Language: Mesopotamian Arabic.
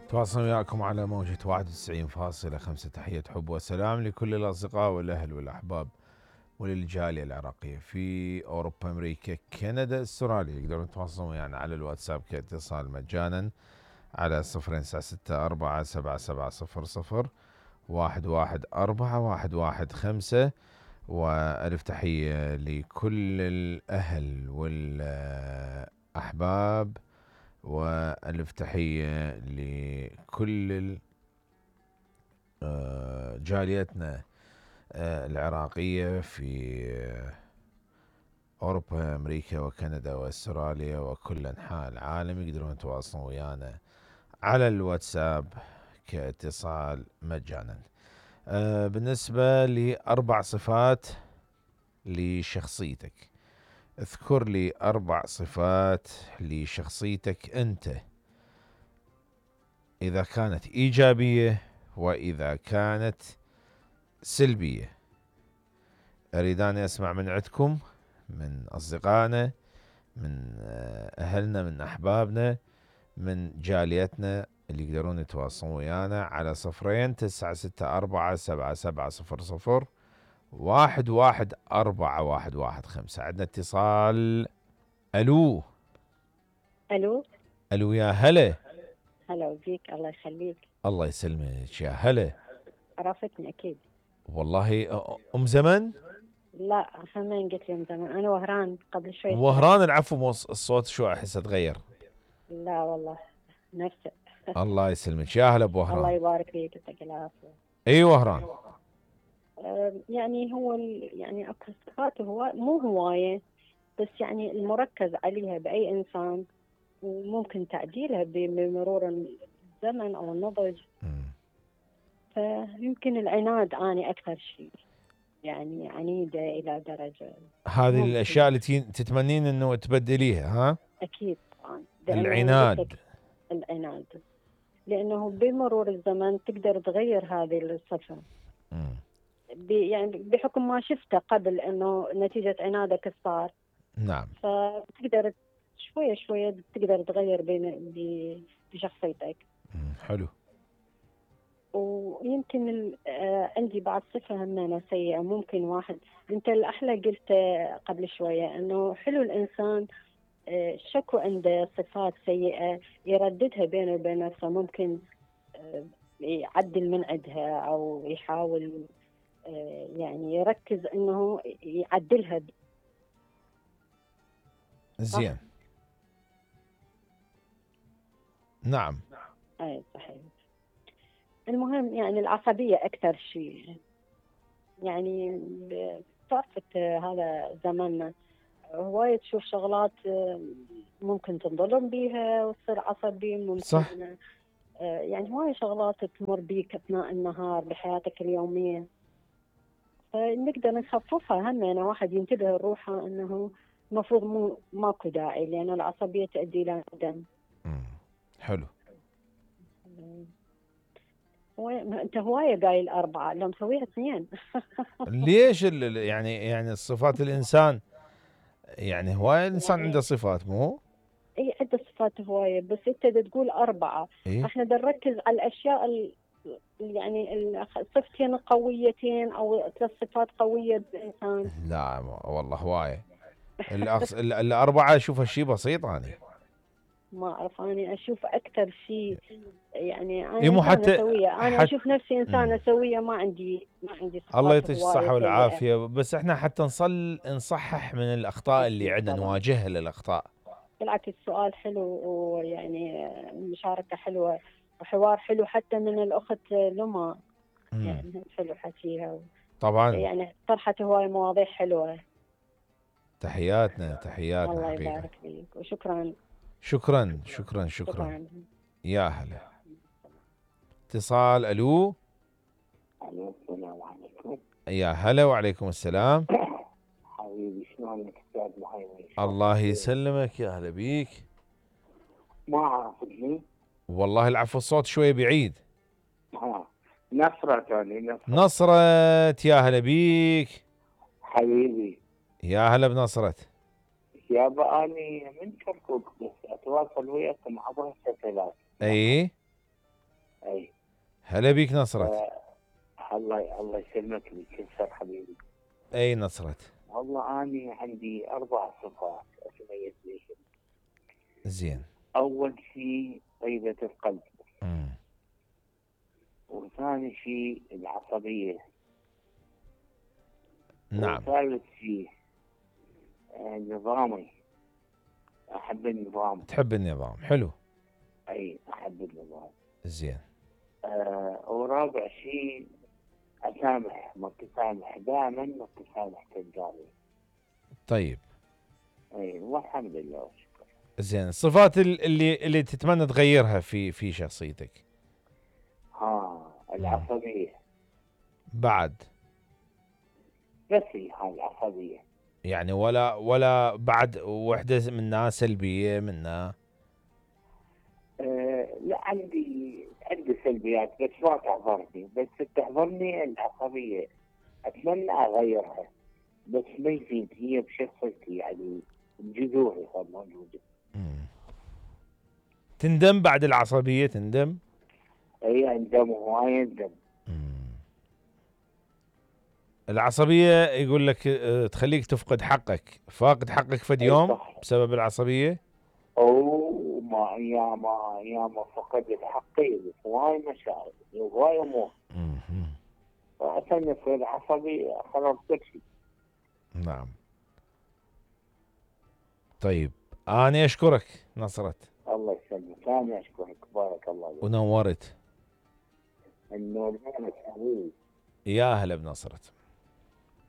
تواصل وياكم على موجة 91.5. تحية حب وسلام لكل الأصدقاء والأهل والأحباب وللجالية العراقية في أوروبا، أمريكا، كندا، استراليا. يقدرون يتواصلون ويانا على الواتساب كاتصال مجانا على 096 477 00114 وألف تحية لكل الأهل والأحباب وألف تحية لكل جاليتنا العراقية في أوروبا، أمريكا وكندا وأستراليا وكل أنحاء العالم. يقدرون يتواصلون ويانا على الواتساب كاتصال مجانا. بالنسبة لأربع صفات لشخصيتك، اذكر لي 4 صفات لشخصيتك أنت، إذا كانت إيجابية وإذا كانت سلبية. أريد أن أسمع من عندكم، من أصدقائنا، من أهلنا، من أحبابنا، من جاليتنا اللي يقدرون يتواصلون ويانا على 096 477 0011415. عندنا اتصال. ألو. الو. ألو يا هلا. هلا بيك، الله يخليك. الله يسلمك يا هلا. عرفتني اكيد. والله أم زمن. لا همين قلت لي من زمان، انا وهران قبل شوي. وهران، العفو، الصوت شو احس اتغير. لا والله نفسه. الله يسلمك يا هلا ابو الله وهران. يبارك فيك، يعطيك العافيه. اي وهران. يعني هو يعني اكو صفات هو مو هوايه، بس يعني المركز عليها باي انسان وممكن تعديلها بمرور الزمن او النضج. فيمكن العناد اني اكثر شيء، يعني عنيده الى درجه. هذه الاشياء اللي تتمنين انه تبدليها، ها؟ اكيد طبعا. العناد. العناد لانه بمرور الزمن تقدر تغير هذه الصفه. يعني بحكم ما شفته قبل انه نتيجه عنادك صار. نعم. فتقدر شويه شويه تقدر تغير بشخصيتك. حلو. ويمكن عندي بعض صفه همينه سيئه. ممكن واحد، انت الاحلى قلت قبل شويه انه حلو الانسان شكو عنده صفات سيئة يرددها بينه وبين نفسه، ممكن يعدل من عندها أو يحاول يعني يركز أنه يعدلها. زين. نعم. أي صحيح. المهم يعني العصبية أكثر شيء، يعني بفترة هذا زماننا هواية تشوف شغلات ممكن تنظلم بيها وتصير عصبي. ممكن صح. يعني هواية شغلات تمر بيك أثناء النهار بحياتك اليومية، فنقدر نخففها. هم يعني واحد ينتبه لروحه أنه المفروض ماكو داعي، لأن العصبية تؤدي إلى ندم. حلو. أنت هواية قايل 4، لو مسويها 2. ليش يعني الصفات الإنسان، يعني هواية الإنسان عنده صفات مو؟ اي عدة صفات هواية، بس انت تقول 4. إيه؟ احنا نركز على الاشياء يعني الصفتين قويتين او 3 صفات قوية بالانسان. لا والله هواية. الأربعة أشوفها شيء بسيط. أنا ما اعرف، انا اشوف اكثر شيء يعني انا إيه مو انسانة سوية. انا اشوف نفسي انسانة سوية، ما عندي الله صفات يعطيك الصحة هواية والعافية. سيئة. بس احنا حتى نصحح من الأخطاء اللي عندنا، نواجهها للأخطاء. بالعكس السؤال حلو، ويعني مشاركة حلوة وحوار حلو حتى من الأخت لما. يعني حلو حكيها طبعا. يعني طرحت هواي مواضيع حلوة. تحياتنا الله حقيقة. يبارك فيك وشكرا. شكرا. يا هلا. اتصال. ألو. السلام عليكم. يا هلا وعليكم السلام. حبيبي شلونك استاذ مهيمن؟ الله يسلمك، يا هلا بيك. ما عرفتني والله العفو، الصوت شوية بعيد. نصرة توني. نصرة. يا هلا بيك حبيبي. يا هلا بنصرة. يابا اني من كركوك، بس اتواصل وياكم عبر الشاشات. اي هلا بيك نصرت. الله يسلمك ويكسر حبيبي. اي نصرت. والله أنا عندي 4 صفات أتميز بيهم. زين. أول شيء طيبة القلب. مم. وثاني شيء العصبية. نعم. وثالث شيء نظامي. أحب النظام. تحب النظام، حلو. أي أحب النظام. زين. ورابع شيء أسامح، متسامح، دائما متسامح تلقاني. طيب. أي والحمد لله والشكر. زين، الصفات اللي تتمنى تغيرها في شخصيتك؟ العصبية. بعد؟ بس هي هاي العصبية. يعني ولا بعد وحدة منها سلبية منها؟ لا عندي سلبيات بس ما تحضرني، بس تحضرني العصبية. أتمنى أغيرها بس ما يفيد، هي بشخصيتي يعني بجذوري صار موجودة. تندم بعد العصبية؟ تندم؟ أي أندم وهواي أندم. العصبية يقول لك تخليك تفقد حقك، فاقد حقك فد يوم بسبب العصبية؟ أو يا ما فقدت حقي هواي مشاعر هواي أمور. فعشان يصير عصبي خلاص كل شيء. نعم. طيب أنا أشكرك نصرت. الله يسلمك. أنا أشكرك بارك الله فيك. ونورت. النور حبيبي. يا هلا بنصرت.